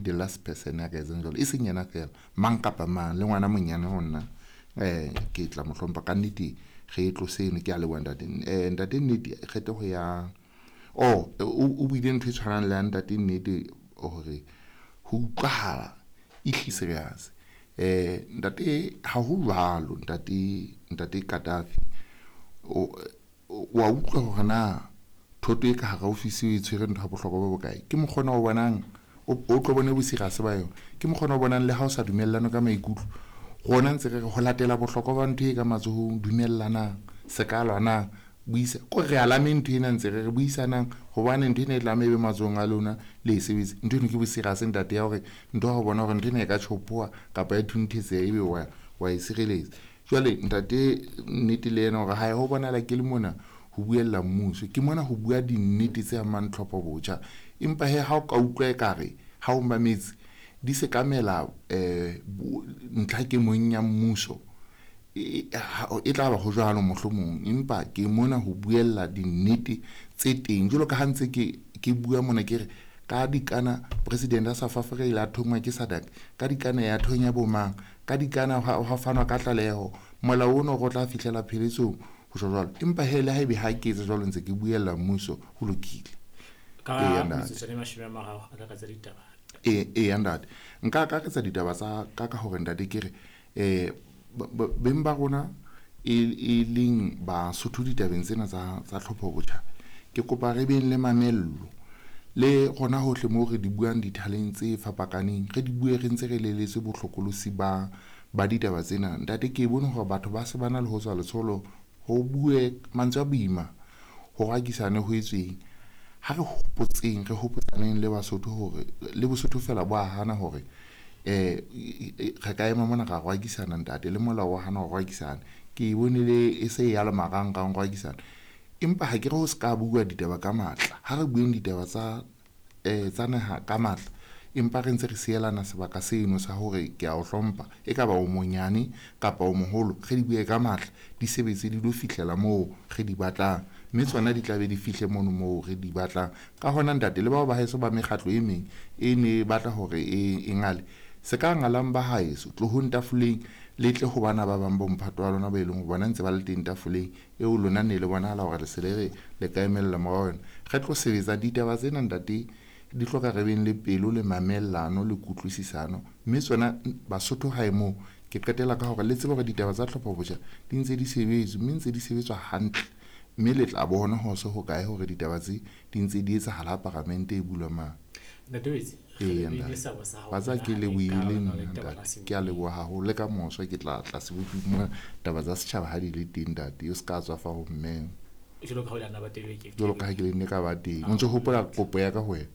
the last person ya ka etsang jwalo. E seng yena feela, mang kapa mang, le ngwana monyane ho nna ke tla mo hlompha ka nnete. Re e tlose eno, ke a leboha ntate. Ntate Nnete, kgetheho ya oh o buile ntho e tshwanang le ya ntate Nnete hore ho utlwahala e hle serious. Ntate ha ho jwalo ntate Kadafi o wa utlwa hore na thoto e ka hara ofisi o e tshwere ntho ya bohlokwa bo bokae. Ke mokgona o bonang o tlo bone boserious ba yona. Ke mokgona o bonang le ha o sa dumellane ka maikutlo. Rona ntse re re ho latela bohlokwa ba ntho e ka matsohong, dumellanang, se ka lwanang, buisa ko re alame ntho ena ntse re re buisanang, hobane ntho ena e tlameha e be matsohong a lona le e sebetse. Ntho eno ke boserious ntate ya hore ntho ya ho bona hore ntho ena e ka tjhopoha kapa ya thunthetseha ebe wa e sireletsa. Jwale ntate Nnete le yena hore hae ho bonahala ke le mona ho buella mmuso, ke mona ho bua dinnete tse amang tlhopho botjha. Empa he ha o ka utlwa ekare ha o mametse di sekamela ntlha ke mong ya mmuso, e tla ba ho jwalo mohlomong, empa ke mona ho buella dinnete tse teng. Jwalo ka ha ntse ke bua mona ke re ka dikana president ya South Africa ile a thongwa ke SADC, ka dikana ya thonya bomang, ka dikana ha fanwa ka tlaleho, molao ono go tla fihlela pheletsong ho tjho jwalo. Empa he le haebe ha ke etse jwalo ntse ke buella mmuso, ho lokile. Ka metsotso e 30 akaretsa ditaba. E ntate, nka akaretsa ditaba tsa ka hore ntate ke re beng ba rona e leng Basotho ditabeng tsena tsa tlhopho botjha, ke kopa re beng le mamello le rona hohle moo re di buang dithaleng tse fapakaneng, re di bue re ntse re leletse bohlokolosi ba ditaba tsena. Ntate ke bone hore batho ba se ba na le ho tswa letsholo ho bue mantswe a boima, ho rakisane ho etsweng. Ha re hopotseng, re hopotsaneng le Basotho hore le Bosotho fela bo a hana hore re ka ema mona ra rwakisana ntate, le molao wa hana ho rwakisana. Ke bone le e se ya le marangrang rwakisana, empa ha ke re ho se ka bua ditaba ka matla. Ha re bueng ditaba tsa naha ka matla, empa re ntse re sielana sebaka seno sa hore ke a o hlompha, e ka ba o monyane kapa o moholo, re di bue ka matla, di sebetse di lo fihlela moo re di batlang, mme tsona di tlabe di fihle mono moo re di batlang. Ka hona ntate, le bao ba heso ba mekgatlo e meng e ne batla hore e ngale, se ka ngalang ba haeso, tlohong tafoleng le tle ho bana ba bang bo mphato wa lona ba e leng ho bona ntse ba le teng tafoleng eo lona ne le bonahala hore le se le re le ka emella morao yona. Re tlo sebetsa ditaba tsena ntate, di hloka re beng le pelo le mamellano le kutlwisisano, mme tsona Basotho hae moo. Ke qetela ka hore le tsebe hore ditaba tsa tlhopho botjha di ntse di sebetswa, mme ntse di sebetswa hantle, mme le tla bona ho se ho kae hore ditaba tse di ntse di etsahala ha paramente e bulwa mang. Wa tseba ke lebohile nna ntate, ke a leboha haholo. Le ka moso ke tla tla seboping mona taba tsa setjhaba ha di le teng ntate, o se ka tswa fa ho mmeng. Jwalo ka ha o le nna ba teng ke. Jwalo ka ha ke le nne ka ba teng. O ntso hopola kopo ya ka ho wena?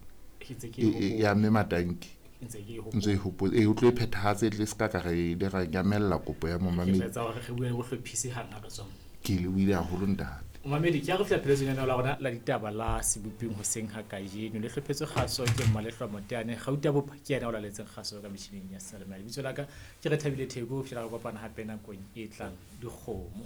Ya mme Matanki. Ntse e hopola. O tlo e phethahatse tle se ka ka re le ra nyamella kopo ya momamedi. Ke tla etsa hore re bue le bohlophisi hang ha re tswa. Ke lebohile haholo ntate. Momamedi, ke a re fihla pheletsong ya la rona la ditaba la seboping hoseng ha kajeno. Le hlophetswe kgaso ke Mmalehlwa Moteane, Gauta Bopa ke yena o laletseng kgaso ka metjhining ya seyalemoya. Lebitso la ka ke Rethabile Theko, ho fihlela re kopana hape nakong e tlang. Dikgomo.